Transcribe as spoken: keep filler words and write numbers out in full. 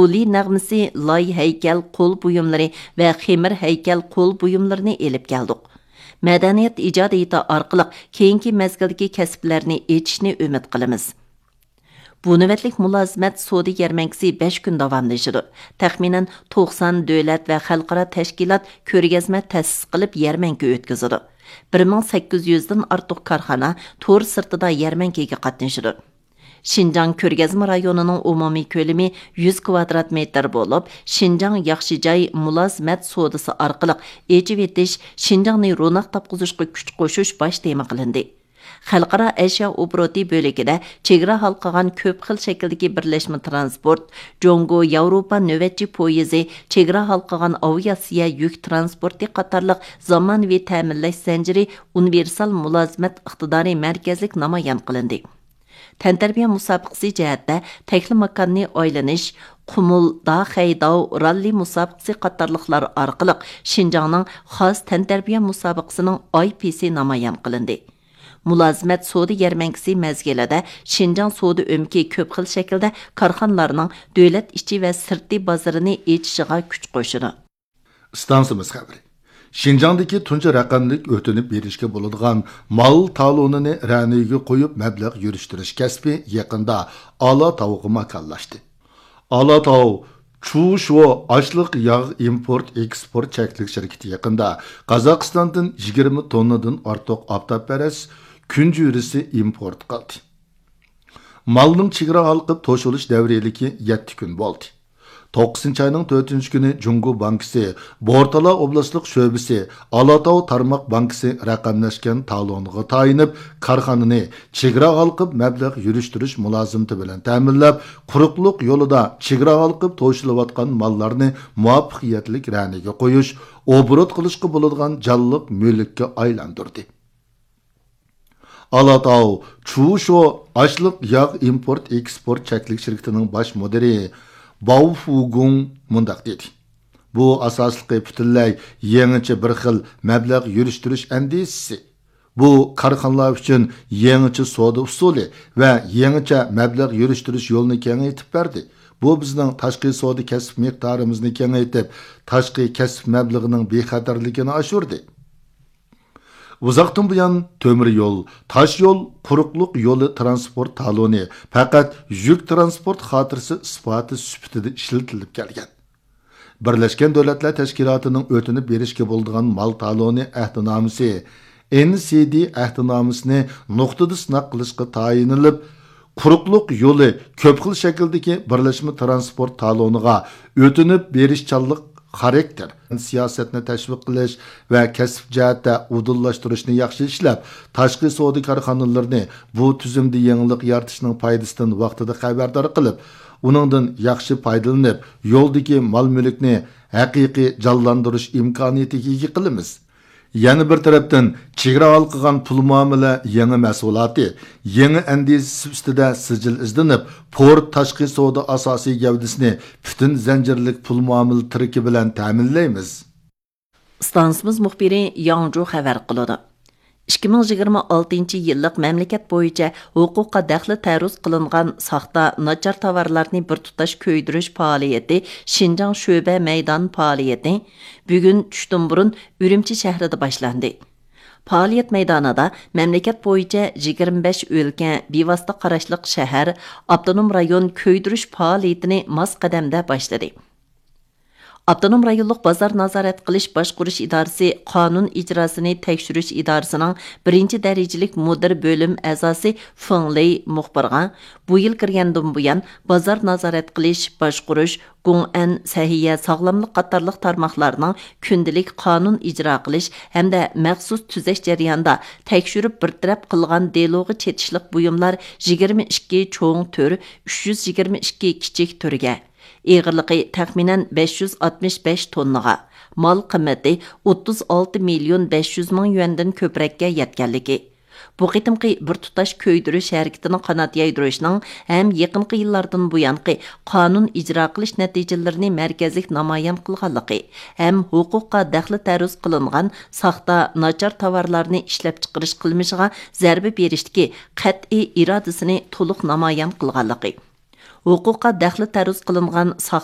ئۇلى نەغمىسى، لاي ھەيكەل قول بۇيۇملىرى ۋە خېمىر ھەيكەل قول بۇيۇملىرىنى ئېلىپ كەلدۇق. مەدەنىيەت ئىجادىيىتى ئارقىلىق كېيىنكى مەزگىلدىكى كەسىپلەرنى ئېچىشنى ئۈمىد قىلىمىز. بۇ نۆۋەتلىك مۇلازىمەت سودا يەرمەنكىسى بەش كۈن داۋاملىشىدۇ. تەخمىنەن توقسان دۆلەت ۋە خەلقئارا تەشكىلات كۆرگەزمە تەسىس قىلىپ يەرمەنكە ئۆتكۈزىدۇ. بىر مىڭ سەككىز يۈزدىن ئارتۇق كارخانا تور سىرتىدا يەرمەنكىگە قاتنىشىدۇ. شىنجاڭ كۆرگەزمە رايونىنىڭ ئومۇمىي كۆلىمى يۈز كۋادرات مېتىر بولۇپ، شىنجاڭ ياخشى جاي مۇلازىمەت سودىسى ئارقىلىق ئېچىۋېتىش، شىنجاڭنى روناق تاپقۇزۇشقا كۈچ قوشۇش باش تېما قىلىندى. خەلقئارا ئەشيا ئوبوروتى بۆلىكىدە چېگرا ھالقىغان كۆپ خىل شەكىلدىكى بىرلەشمە ترانسپورت، جۇڭگو ياۋروپا نۆۋەتچى پويىزى، چېگرا ھالقىغان ئاۋىئاتسىيە يۈك ترانسپورتى قاتارلىق زامانىۋى تەمىنلەش زەنجىرى ئۇنىۋېرسال مۇلازىمەت ئىقتىدارى مەركەزلىك نامايان قىلىندى. تەنتەربىيە مۇسابىقىسى جەھەتتە تەكلىماكاننى ئايلىنىش، قۇمۇل داخەيداۋ راللى مۇسابىقىسى قاتارلىقلار ئارقىلىق شىنجاڭنىڭ خاس تەنتەربىيە مۇسابىقىسىنىڭ ئاي پىسى نامايان قىلىندى. مۇلازىمەت سودا يەرمەنكىسى مەزگىلىدە شىنجاڭ سودا ئۆمىكى كۆپ خىل شەكىلدە كارخانىلارنىڭ دۆلەت ئىچى ۋە سىرتى بازىرىنى ئېچىشىغا كۈچ قوشىدۇ. ئىستانسىمىز خەۋىرى. شىنجاڭدىكى تۇنجى رەقەملىك ئۆتۈنۈپ بېرىشكە بولىدىغان مال تالونىنى رەنىگە قويۇپ مەبلەغ يۈرۈشتۈرۈش كەسپى يېقىندا ئالاتاۋغا ماكانلاشتى. ئالاتاۋ چۇشۇ ئاشلىق ياغ ئىمپورت ئېكسپورت چەكلىك شىركىتى يېقىندا قازاقىستاندىن يىگىرمە توننىدىن ئارتۇق ئاپتاپپەرەس كۈنجۈرىسى ئىمپورت قىلدى. مالنىڭ چېگرا ھالقىپ توشۇلۇش دەۋرىيلىكى يەتتە كۈن بولدى. توققۇزىنچى ئاينىڭ تۆتىنچى كۈنى جۇڭگو بانكىسى بورتالا ئوبلاستلىق شۆبىسى ئالاتاۋ تارماق بانكىسى رەقەملەشكەن تالونىغا تايىنىپ، كارخانىنى چېگرا ھالقىپ مەبلەغ يۈرۈشتۈرۈش مۇلازىمىتى بىلەن تەمىنلەپ، قۇرۇقلۇق يولىدا چېگرا ھالقىپ توشۇلۇۋاتقان ماللارنى مۇۋەپپەقىيەتلىك رەنىگە قويۇش، ئوبوروت قىلىشقا بولىدىغان جانلىق مۈلۈككە ئايلاندۇردى. ئالاتاۋ چۇشۇ ئاشلىق ياغ ئىمپورت ئېكسپورت چەكلىك شىركىتىنىڭ باش مۇدىرى باۋ فۇگۇڭ مۇنداق دېدى: بۇ ئاساسلىقى پۈتۈنلەي يېڭىچە بىر خىل مەبلەغ يۈرۈشتۈرۈش ئەندىزىسى. بۇ كارخانىلار ئۈچۈن يېڭىچە سودا ئۇسۇلى ۋە يېڭىچە مەبلەغ يۈرۈشتۈرۈش يولىنى كېڭەيتىپ بەردى. بۇ بىزنىڭ تاشقى سودا كەسىپ مىقدارىمىزنى كېڭەيتىپ، تاشقى كەسىپ مەبلىغىنىڭ بىخەتەرلىكىنى ئاشۇردى. ئۇزاقتىن بۇيان تۆمۈر يول، تاش يول، قۇرۇقلۇق يولى ترانسپورت تالونى پەقەت يۈك ترانسپورت خاتىرىسى ئىسپاتى سۈپىتىدە ئىشلىتىلىپ كەلگەن. بىرلەشكەن دۆلەتلەر تەشكىلاتىنىڭ ئۆتۈنۈپ بېرىشكە بولىدىغان مال تالونى ئەھدىنامىسى، ئېن سى دى ئەھدىنامىسىنى نۇقتىدا سىناق قىلىشقا تايىنىلىپ، قۇرۇقلۇق يولى كۆپ خىل شەكىلدىكى بىرلەشمە ترانسپورت تالونىغا ئۆتۈنۈپ بېرىشچانلىق خاراكتېر سىياسەتنى تەشۋىق قىلىش ۋە كەسىپ جەھەتتە ئۇدۇللاشتۇرۇشنى ياخشى ئىشلەپ، تاشقى سودا كارخانىلىرىنى بۇ تۈزۈمدە يېڭىلىق يارىتىشنىڭ پايدىسىدىن ۋاقتىدا خەۋەردار قىلىپ، ئۇنىڭدىن ياخشى پايدىلىنىپ، يولدىكى مال مۈلۈكنى ھەقىقىي جانلاندۇرۇش ئىمكانىيىتىگە ئىگە قىلىمىز. يەنە بىر تەرەپتىن، چېگرا ھالقىغان پۇل مۇئامىلە يېڭى مەھسۇلاتى، يېڭى ئەندىزىسى ئۈستىدە سىجىل ئىزدىنىپ، پورت تاشقى سودا ئاساسىي گەۋدىسىنى پۈتۈن زەنجىرلىك پۇل مۇئامىلە تىرىكى بىلەن تەمىنلەيمىز. ئىستانسىمىز مۇخبىرى ياڭجۇ خەۋەر قىلىدۇ. ئىككى مىڭ يىگىرمە ئالتىنچى يىللىق مەملىكەت بويىچە ھوقۇققا دەخلى تەرۇز قىلىنغان ساختا، ناچار تاۋارلارنى بىر تۇتاش كۆيدۈرۈش پائالىيىتى شىنجاڭ شۆبە مەيدان پائالىيىتى بۈگۈن چۈشتىن بۇرۇن ئۈرۈمچى شەھىرىدە باشلاندى. پائالىيەت مەيدانىدا مەملىكەت بويىچە يىگىرمە بەش ئۆلكە، بىۋاسىتە قاراشلىق شەھەر، ئاپتونوم رايون كۆيدۈرۈش پائالىيىتىنى ماس قەدەمدە باشلىدى. ئاپتونوم رايونلۇق بازار نازارەت قىلىش باشقۇرۇش ئىدارىسى قانۇن ئىجراسىنى تەكشۈرۈش ئىدارىسىنىڭ بىرىنچى دەرىجىلىك مۇدىر بۆلۈم ئەزاسى فېڭ لېي مۇخبىرغا، بۇ يىل كىرگەندىن بۇيان، بازار نازارەت قىلىش، باشقۇرۇش، گوڭئەن، سەھىيە، ساغلاملىق قاتارلىق تارماقلارنىڭ كۈندىلىك قانۇن ئىجرا قىلىش ھەمدە مەخسۇس تۈزەش جەريانىدا تەكشۈرۈپ بىر تەرەپ قىلغان دېلوغا چېتىشلىق بۇيۇملار يىگىرمە ئىككى چوڭ تۈر، ئۈچ يۈز يىگىرمە ئىككى كىچىك تۈرگە، ئېغىرلىقى تەخمىنەن بەش يۈز ئاتمىش بەش توننىغا، مال قىممىتى ئوتتۇز ئالتە مىليون بەش يۈز مىڭ يۈەندىن كۆپرەككە يەتكەنلىكى، بۇ قېتىمقى بىر تۇتاش كۆيدۈرۈش ھەرىكىتىنىڭ قانات يايدۇرۇشنىڭ ھەم يېقىنقى يىللاردىن بۇيانقى قانۇن ئىجرا قىلىش نەتىجىلىرىنى مەركەزلىك نامايان قىلغانلىقى ھەم ھوقۇققا دەخلى تەرۇز قىلىنغان ساختا، ناچار تاۋارلارنى ئىشلەپچىقىرىش قىلمىشىغا زەربە بېرىشتىكى قەتئىي ئىرادىسىنى تولۇق نامايان قىلغانلىقى، ھوقۇققا دەخلى تەرۇز قىلىنغان ساختا،